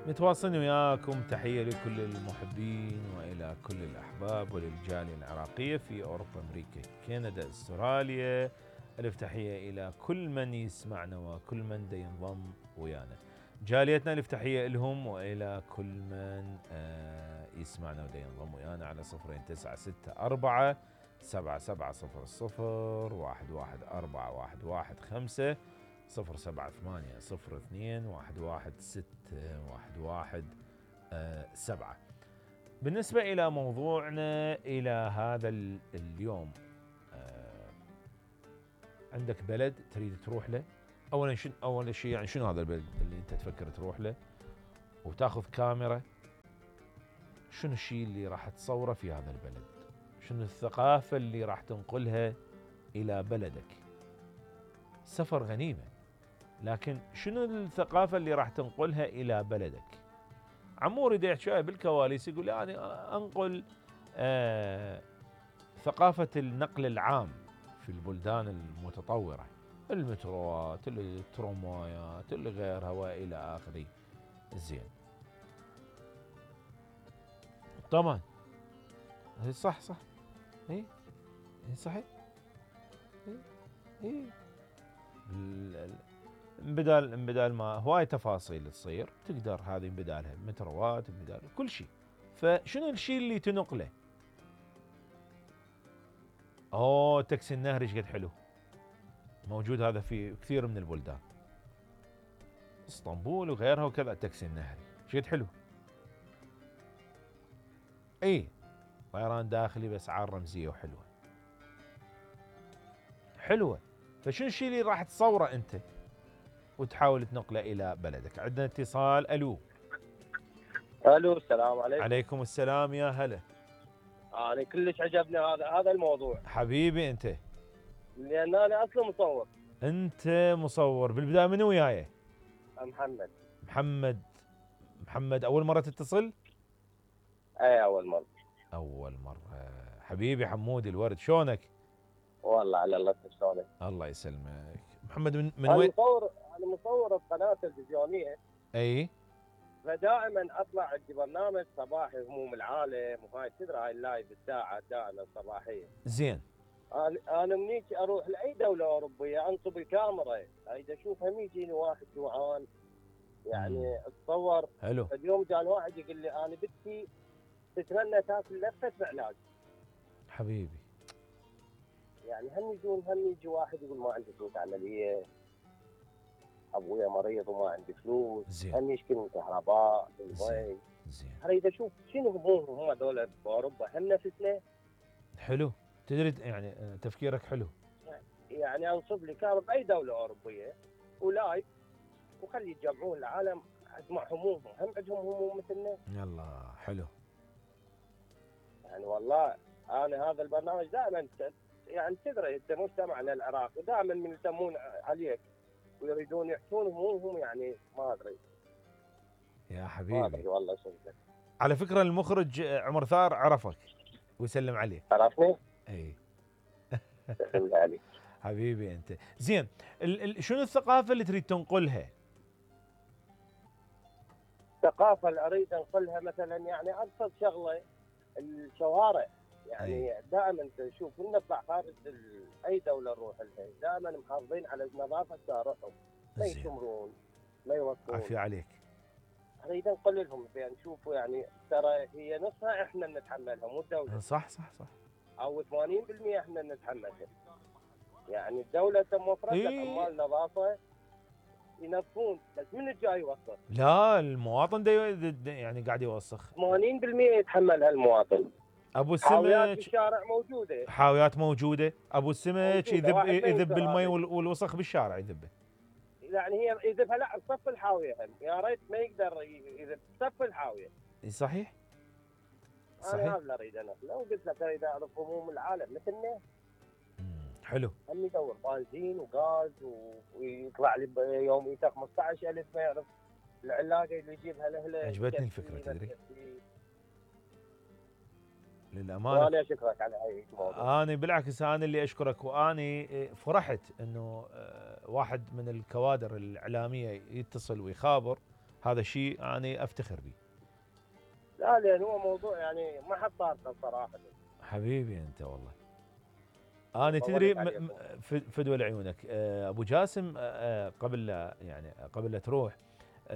متواصلين وياكم، تحية لكل المحبين وإلى كل الأحباب وللجالية العراقية في أوروبا، أمريكا، كندا، أستراليا. ألف تحية إلى كل من يسمعنا وكل من دا ينضم ويانا. جاليتنا ألف تحية لهم وإلى كل من يسمعنا ودا ينضم ويانا على 0964 7700 11415 078 02 116 بالنسبة إلى موضوعنا إلى هذا اليوم، عندك بلد تريد تروح له. أول شيء يعني شنو هذا البلد اللي أنت تفكر تروح له وتاخذ كاميرا؟ شنو الشيء اللي راح تصوره في هذا البلد؟ شنو الثقافة اللي راح تنقلها إلى بلدك؟ سفر غنيمة، لكن شنو الثقافة اللي راح تنقلها إلى بلدك؟ عمور يدي يحكي بالكواليس يقول يعني أنقل ثقافة النقل العام في البلدان المتطورة، المتروات، التراموايات، اللي غيرها وإلى آخره. زين، طبعا صح اي صحيح. اي بدال ما هواي تفاصيل تصير تقدر هذه بدالها متروات، بدال كل شيء. فشنو الشيء اللي تنقله؟ تاكسي النهري ايش قد حلو، موجود هذا في كثير من البلدان، اسطنبول وغيرها وكذا. تاكسي النهري ايش قد حلو. اي طيران داخلي باسعار رمزيه وحلوه حلوه. فشنو الشيء اللي راح تصوره انت وتحاول تنقله الى بلدك؟ عندنا اتصال. الو السلام عليكم. عليكم السلام، يا هلا. انا كلش عجبني هذا الموضوع حبيبي انت، لان انا اصلا مصور. انت مصور. بالبدايه من وياي؟ محمد اول مره تتصل؟ اي اول مره. حبيبي حمودي الورد، شلونك؟ والله على الله. شلونك؟ الله يسلمك. محمد من وين؟ انا مصور بقناه تلفزيونيه. اي، فدائما اطلع عندي برنامج صباحي هموم العالم، وهاي تدري هاي اللايف الساعه دائما صباحيه. زين. انا منيك اروح لاي دوله اوروبيه انصب الكاميرا، اذا اشوف هم يجيني واحد جوعان يعني اتصور. حلو. اليوم جاء واحد يقول لي انا بنتي تتمنى تاكل لفه علاج. حبيبي يعني هم يجي واحد يقول ما عندي فلوس عمليه، ابويا مريض وما عندي فلوس. زين. هم يشكلون كهرباء المي. زين. اريد اشوف شنو همومهم هم هذول باوروبا، هم نفسنا. حلو، تدري يعني تفكيرك حلو. يعني انصب لي كاميرا باي دوله اوروبيه ولايف وخلي يتجمعون العالم اسمع همومهم، هم عندهم هموم مثلنا. يلا حلو. يعني والله انا هذا البرنامج دائما يعني تدري انت مجتمعنا العراقي دائما من يسمون عليك ويريدون يحكون همومهم، يعني ما ادري يا حبيبي. ما ادري والله شنو. على فكره المخرج عمر ثار عرفك ويسلم عليك. عرفني؟ اي يسلم عليك حبيبي انت. زين، شنو الثقافه اللي تريد تنقلها؟ الثقافه اللي اريد انقلها مثلا يعني ابسط شغله الشوارع. يعني دائما تشوف نطلع خارج اي دوله نروح لها دائما محافظين على نظافه شوارعهم، ما يشمرون ما يوقفون. عافيه عليك. اريد انقل لهم يعني شوفوا يعني ترى هي نصها احنا نتحملها مو الدوله. صح او 80% احنا نتحملها. يعني الدوله موفرت لك عمال نظافه ينظفون، بس من الجاي يوسخ؟ لا، المواطن يعني قاعد يوسخ. 80% يتحملها المواطن. ابو السمك حاويات بالشارع موجوده، حاويات موجوده. ابو السمك يذب المي والوسخ بالشارع يذبه. يعني هي يذبها لا بصف الحاويه، يا ريت ما يقدر يذب بصف الحاويه. صحيح. انا هذا اللي اريد انا، لو قلت لك اريد اعرف هموم العالم مثلنا. حلو. هم يدور بنزين وغاز ويطلع لي يوميته 15,000 ما يعرف العلاقه اللي يجيبها لاهله. عجبتني الفكره تدري. للامانه وانا اشكرك على هاي الموضوع. انا بالعكس انا اللي اشكرك، واني فرحت انه واحد من الكوادر الاعلاميه يتصل ويخابر هذا شيء انا افتخر به. لا لان هو موضوع يعني ما حد طارقه صراحه. حبيبي انت والله. انا طولت تدري عليكم. فدوى لعيونك ابو جاسم قبل لا تروح